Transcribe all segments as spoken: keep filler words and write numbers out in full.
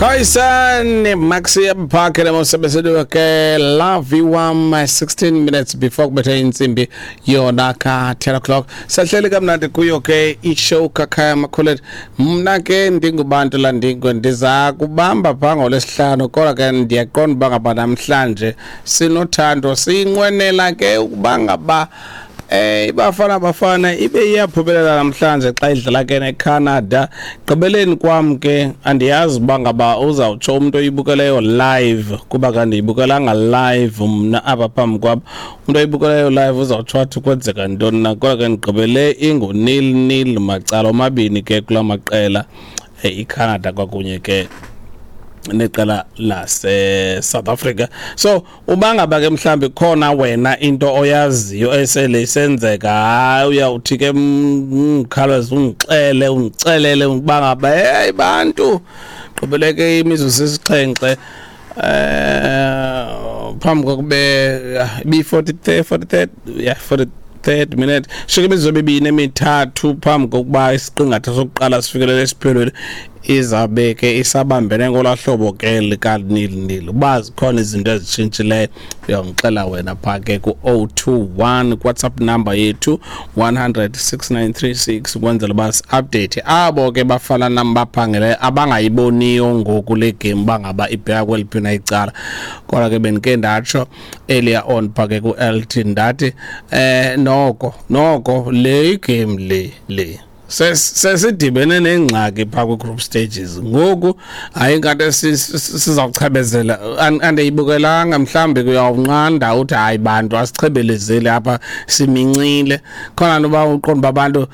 Khoisan Maxi Parker mosebenzele ke love wam sixteen minutes before kubethe intsimbi yona ka ten o'clock. Sahleli kamnandi kuyo ke ishow kaKhaya Makhulete. Mna ke ndingubantu landingwe ndiza kubamba pha ngolwesihlanu, kodwa ke ndiyaqonda uba ngaba namhlanje sinothando sinqwenela ke ukuba ngaba eh iBafana Bafana ibe iyaphumelela namhlanje xa idlala ke neCanada. Gqibeleni kwam ke andiyazi uba ngaba uzawutsho umuntu oyibukeleyo live, kuba kandiyibukelanga live mna apha phambi kwam. Umuntu oyibukeleyo live uzawutsho athi kwenzeka ntoni na, kodwa ke ndigqibele ingu-nil nil macala omabini ke kula maqela, eh, iCanada kwakunye ke neqela lase South Africa. So uba ngaba ke mhlambi khona wena into oyaziyo esele isenzeka, hayi uyawuthi ke mkhaleze ungixele ungicelele ukuba ngaba hey bantu gqibeleke imizuzu esixhenxe eh phambi kokube bi forty-three forty-three yeah forty-third minute, shike imizuzu emibini emithathu phambi kokuba isiqingatha sokuqala sifikelele esiphelweni, izabe ke isabambene ngolaa hlobo ke lika-nil nil. Uba zikhona izinto ezitshintshileyo uyawungixela wena phaa ke ku-oh two one WhatsApp number yethu one hundred six nine three six, ukwenzela uba si-update abo ke bafana nam baphangele abangayiboniyo ngoku le game bangaba ibheka kweliphi na icala. Kodwa ke bendike ndatsho earlier on phaa ke ku-L T, ndathi eh noko noko le game le le sesidibene nengxaki phaa kwi-group stages ngoku, hayi ingathi sizawuchebezela. Andiyibukelanga, mhlawumbi uyawunqanda uthi hayi bantu asichebelezeli apha, simincile khona noba uqonda uba abantu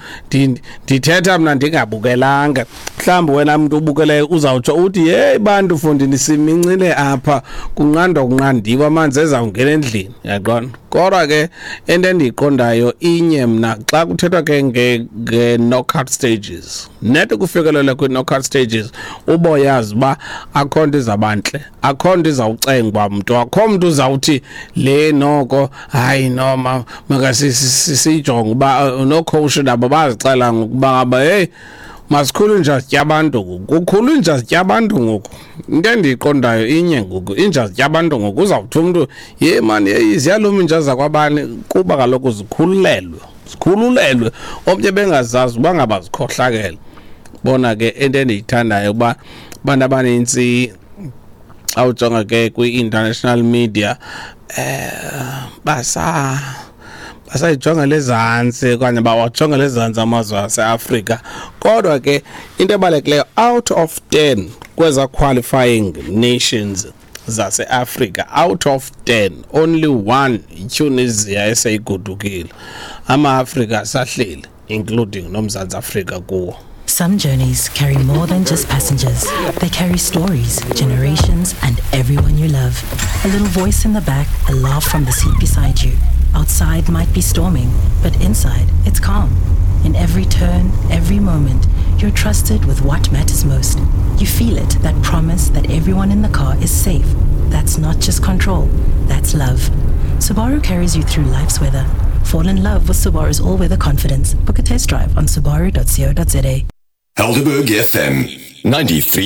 ndithetha mna ndingabukelanga. Mhlawumbi wena mntu ubukeleyo uzawutsho uthi yeyi bantu fondini simincile apha, kunqandwa kunqandiwe amanzi ezawungena endlini, uyaqonda. Kodwa ke into endiyiqondayo inye mna, xa kuthethwa ke nge-knockout stages, net ukufikelela kwi-knockout stages uboyazi uba akho nto izabantle, akho nto izawucengwa mntu, akho mntu uzawuthi le noko hayi noma makasiyijonge uba nocoach nabo bazixela ngokuba ngaba hey masikhulu inja zitya abantu ngoku, kukhulu inja zitya abantu ngoku. Into endiyiqondayo inye ngoku, inja zitya abantu ngoku, uzawuthi umntu ye mani yeyi ziyaluma inja zakwabani, kuba kaloku zikhululelwe zikhululelwe omnye bengazazi uba ngaba zikhohlakele. Bona ke into endiyithandayo ukuba abantu abanintsi awujonga ke kwi-international media eh basa basayijongela ezantsi okanye bawajongela ezantsi amazwe aseAfrika. Kodwa ke into ebalulekileyo, out of ten kweza qualifying nations zaseAfrika, out of ten only one, iTunisia, eseyigodukile. Ama-Afrika asahleli, including noMzantsi Afrika kuwo. Some journeys carry more than just passengers. They carry stories, generations, and everyone you love. A little voice in the back, a laugh from the seat beside you. Outside might be storming, but inside it's calm. In every turn, every moment, you're trusted with what matters most. You feel it, that promise that everyone in the car is safe. That's not just control, that's love. Subaru carries you through life's weather. Fall in love with Subaru's all-weather confidence. Book a test drive on subaru dot co dot za. Helderberg F M ninety-three